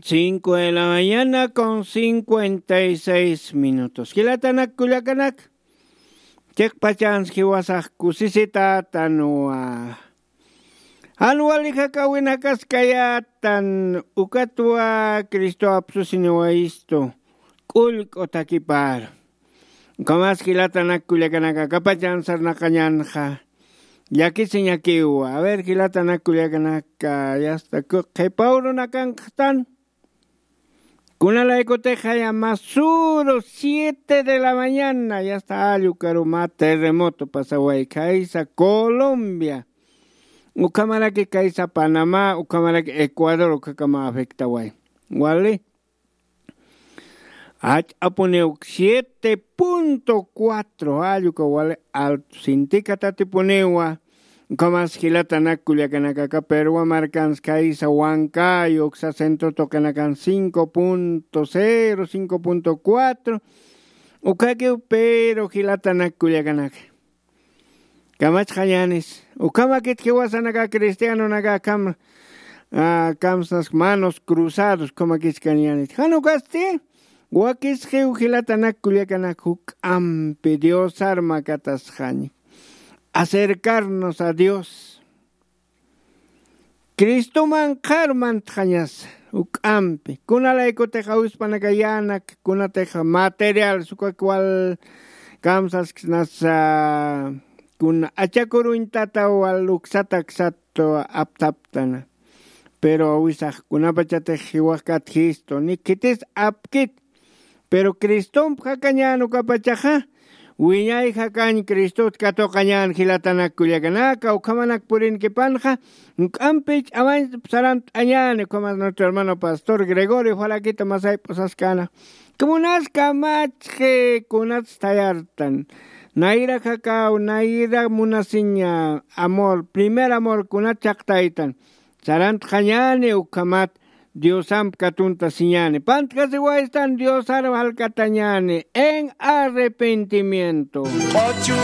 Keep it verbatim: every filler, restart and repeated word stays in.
Cinco de la mañana con cincuenta y seis minutos. Jilatanak kullakanak, chiqpachans jiwasax kusisitätanwa. Jan wali jakawinakaskayätan, ukatwa Cristo apsusiniwayistu k'ullk'u takipar. Ukhamas jilatanak kullakanaka, akapachan sarnaqañanxa llakisiñakiwa. A ver, jilatanak kullakanaka, yasta qhipaw runakanxtan. Kunalaykutix jaya masuru siete de la mañana, yasta allukaru mä terremoto pasaway khaysa Colombia, ukhamaraki khaysa Panamá, ukhamaraki Ecuador, ukhakama afectaway. Wali, ach'apuniw siete punto cuatro, alluka wali alto sintika tatipuniwa. Ukhamas jilatanak kullakanakaka, Perú markans khaysa Huancayo, uksa centro tuqinakan cinco punto cero, cinco punto cuatro. Ukhakiw, pero jilatanak kullakanaka, kamachxañänis. Ukhamakit jiwasanaka cristianonaka akham, ah, kamsas manos cruzados, ukhamakit kañänit. Jan ukasti, wakisxiw jilatanak kullakanak juk'ampi Diosar makatasxaña. Acercarnos a Dios. Cristoman qhar mantxañasa juk'ampi. Kunalaykutix awispanakayänak, kunatix material, sukak wal kamsasksnasa, kuna achakuruñ tata wal uksata aksat aptaptana. Pero awisax kunapachatix jiwaxkat jistu, ni khitis apkit. Pero Cristomp jakañän ukapachaxa, wiñay jakañ Cristot katuqañän jilatanak kullakanaka, ukhamanak purinkipanxa, juk'ampi ch'amañ sarant'añäni, ukhamas nuestro hermano pastor Gregorio Falaquito masay p'usaskana. Kunas kamachxi, kunats thayartan. Nayra jakaw, nayra munasiña amor, primer amor, kunat chaqtaytan. Sarantxañäni ukhamat Diosamp katuntasiñäni. Pantjasiwaystan Diosar jalkatañäni en arrepentimiento. Q'uchu